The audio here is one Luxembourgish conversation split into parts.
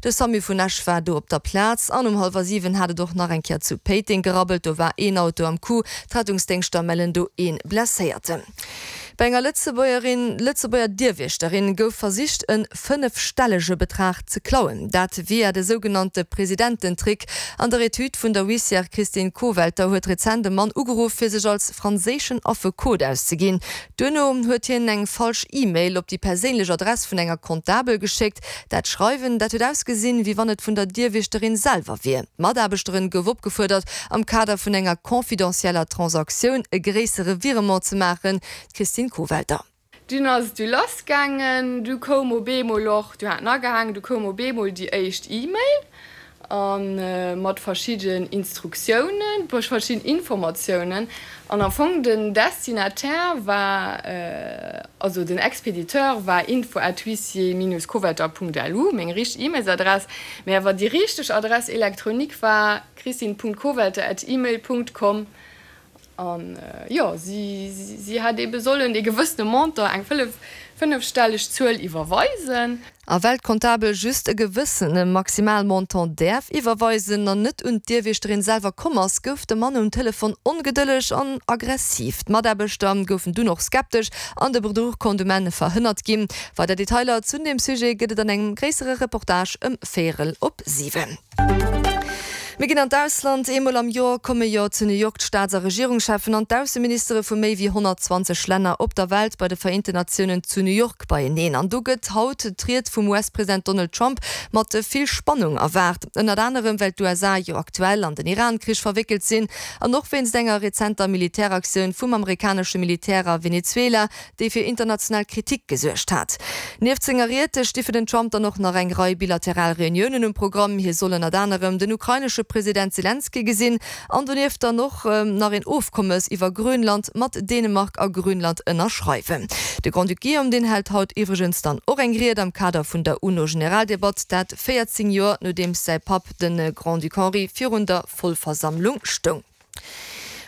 De Samu vun Esch war do op der Plaz an um hallwer 7 hat et och nach eng Kéier zu Péiteng gerabbelt. Do war een Auto am Coup. D'Rettungsdéngschter mellen do ee Blesséierten. Bei enger Lëtzebuergerin, Lëtzebuerger Dierwiechterin gouf versicht e fënnefstellege Betrag ze klauen. Dat via de sougenannte Presidententrick. An der Etüd vun der Huissière Christine Kowelter huet rezent e Mann ugeruff, fir sech als franséischen Affekot auszeginn. Duerno huet hien eng falsch E-Mail op déi perséinlech Adress vun enger Comptabel geschéckt. Dat Schreiwen, dat huet ausgesinn, wéi wann et vun der Dierwiechterin selwer wier. D'Mataarbechterin gouf opgefuerdert, am Kader vun enger confidentieller Transaktioun e gréissere Virement ze maachen. D'Christine Kowelter. Dunn ass et du lass gaangen, du koum op eemol och, du hat en agehaangen, du koum op eemol déi éischt E-Mail a mat verschidden Instruktiounen, verschidden Informatiounen. An am Fong den Destinataire war, also den Expéditeur war info at huissier-kowetter.lu, meng richteg E-Mailsadress, mä awer déi richteg Adresse électronique war christine.kowelter at email.com. An jo, si, si hätt eebe sollen ee gewëssene Montant, eng fënnefstelleg Zuel iwwerweisen. A well d'Comptabel just e gewëssene Maximalmontant däerf iwwerweisen an net un d'Dierwiechterin selwer komm ass, gouf de Mann um Telefon ongedëlleg an aggressiv. D'Mataarbechter goufen dunn och skeptesch an de Bedruch konnt um Enn verhënnert ginn. Weider Detailer zun deem Sujet gëtt et an engem gréissere Reportage ëm véierel op 7. Mir ginn an d'Ausland. Eemol am Joer komme jo zu New York d'Staats a Regierungscheffen an d'Ausseministere vu méi wéi 120 Länner op der Welt bei de Vereenten Natiounen zu New York beieneen. An do gëtt haut d'Ried vum US-President Donald Trump mat vill Spannung erwaart. Ënnert anerem well d'USA jo aktuell an den Iran-Krich verwéckelt sinn an och wéinst enger rezenter Militäraktioun vum amerikanesche Militär a Venezuela, déi fir international Kritik gesuergt hat. Nieft senger Ried sti fir den Trump dann och nach eng Rei bilateral Reuniounen um Programm. Hie soll ënnert anerem den ukrainesche President Selenskyj gesinn an donieft dann och nach een Ofkommes iwwer Grönland mat Dänemark a Grönland ënnerschreiwen. De Grand-Duc Guillaume, deen hält haut iwwregens dann och eng Ried am Kader vun der UNO-Generaldebatt, dat 14 Joer nodeems säi Papp, de Grand-Duc Henri, virun der Vollversammlung stoung.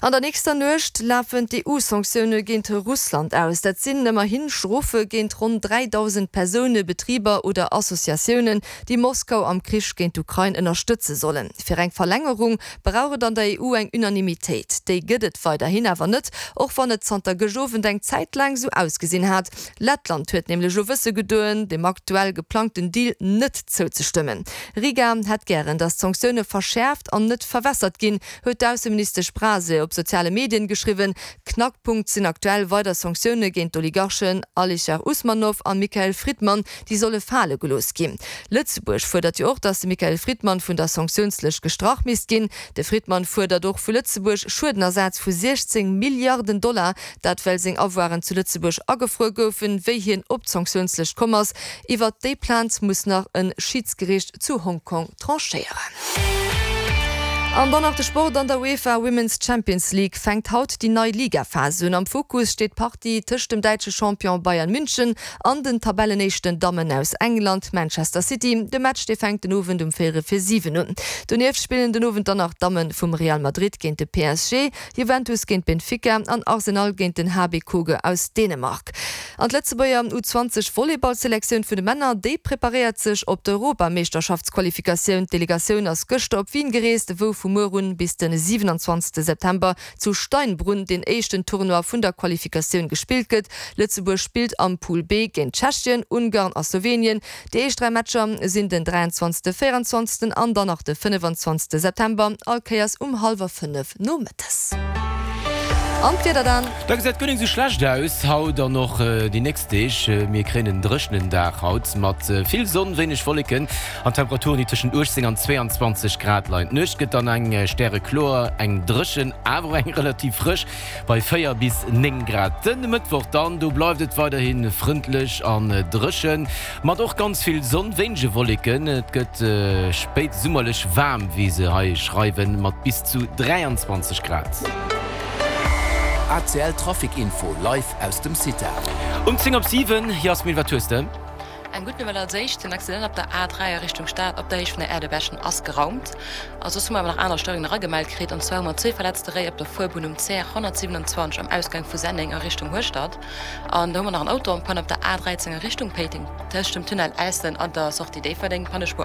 An der nächster Nuecht lafen d'EU-Sanktioune géint Russland aus. Dat sinn ëmmerhi Strofe géint ronn 3.000 Persoune, Betriber oder Associatiounen, déi Moskau am Krich géint d'Ukrain ënnerstëtze sollen. Fir eng Verlängerung brauch et an der EU eng Unanimitéit. Déi gëtt et weiderhin awer net, och wann et zanter gëscht Owend eng Zäit laang sou ausgesinn hat. Lettland huet nämlech elo wësse gedoen, dem aktuell geplangten Deal net zouzestëmmen. Riga hätt gären, datt d'Sanktioune verschäerft an net verwässert ginn, huet d'Ausseministesch Brase op soziale Medien geschriwwen. Knackpunkt sinn aktuell weider Sanktioune géint d'Oligarchen Alischer Usmanow a Mikhail Fridman, déi solle fale gelooss ginn. Lëtzebuerg fuerdert jo och, datt de Mikhail Fridman vun der Sanktiounslëscht gestrach misst ginn. De Fridman fuerdert och vu Lëtzebuerg Schuedenersaz vu 16 Milliarden Dollar, dat well seng Avoiren zu Lëtzebuerg agefruer goufen, wéi hien op d'Sanktiounslëscht komm ass. Iwwert déi Plainte muss nach e Schidsgeriicht zu Hongkong tranchéieren. An dann nach de Sport, An der UEFA Women's Champions League fänkt haut déi nei Ligaphas un. Am Fokus steet d'Partie tëscht dem däitsche Champion Bayern München an den Tabellenéischten Dammen aus England, Manchester City. De Match dee fänkt den Owend um véierel vir 7 un. Donieft spillen den Owend dann nach d'Damme vum Real Madrid géint de PSG, Juventus géint Benfica an Arsenal géint den HB Køge aus Dänemark. An d'Lëtzebuerger U 20 Volleyballselektioun vun de Männer, déi preparéiert sech op d'Europameeschterschaftsqualifikatioun. D'Delegatioun ass gëschter op Wien gereest, wou vu muer un bis de 27 September zu Steinbrunn deen éischten Tournoi vun der Qualifikatioun gespillt gëtt. Lëtzebuerg spillt am Pool B géint Tschechien, Ungarn a Slowenien. Déi éischt 3 Matcher sinn den 23., 24. An dann nach de 25. September, all Kéiers um hallwer 5 nomëttes. An d'Wieder dann? Da gesäit guer ning sou schlecht aus haut an och déi nächst Deeg. Mir kréien en dréchenen Dag haut mat vill Sonn, wéineg Wolleken an Temperaturen, déi tëschent 18 an 22 Grad leien. D'Nuecht gëtt dann eng stärekloer, eng dréchen, awer och eng relativ frësch bei 4 bis 9 Grad. Den Mëttwoch dann, do bleift et weiderhi frëndlech an dréchen, mat och ganz vill Sonn, wéinege Wolleken. Et gëtt spéitsummerlech waarm, wéi se hei schreiwen, mat bis zu 23 Grad. ACL Trafic Info live aus dem CITA. Um 10 op 7, Jasmin, wat hues de? Eng gutt Nouvelle als éischt, Den Accident op der A3 a Richtung Stad op der Héicht vun der Aire de Beschen ass geraumt. A soss hu mer awer nach aner Störungen eragemellt kritt. An zwar hu mer zwee verletzte Réi op der Fuerbunn um CR 127 am Ausgang vu Senneng a Richtung Hueschtert. An da hu mer nach en Auto en panne op der A13 a Richtung Péiteng tëscht dem Tunnel Äissen an der Sortie Déifferdeng. D'Pannespuer.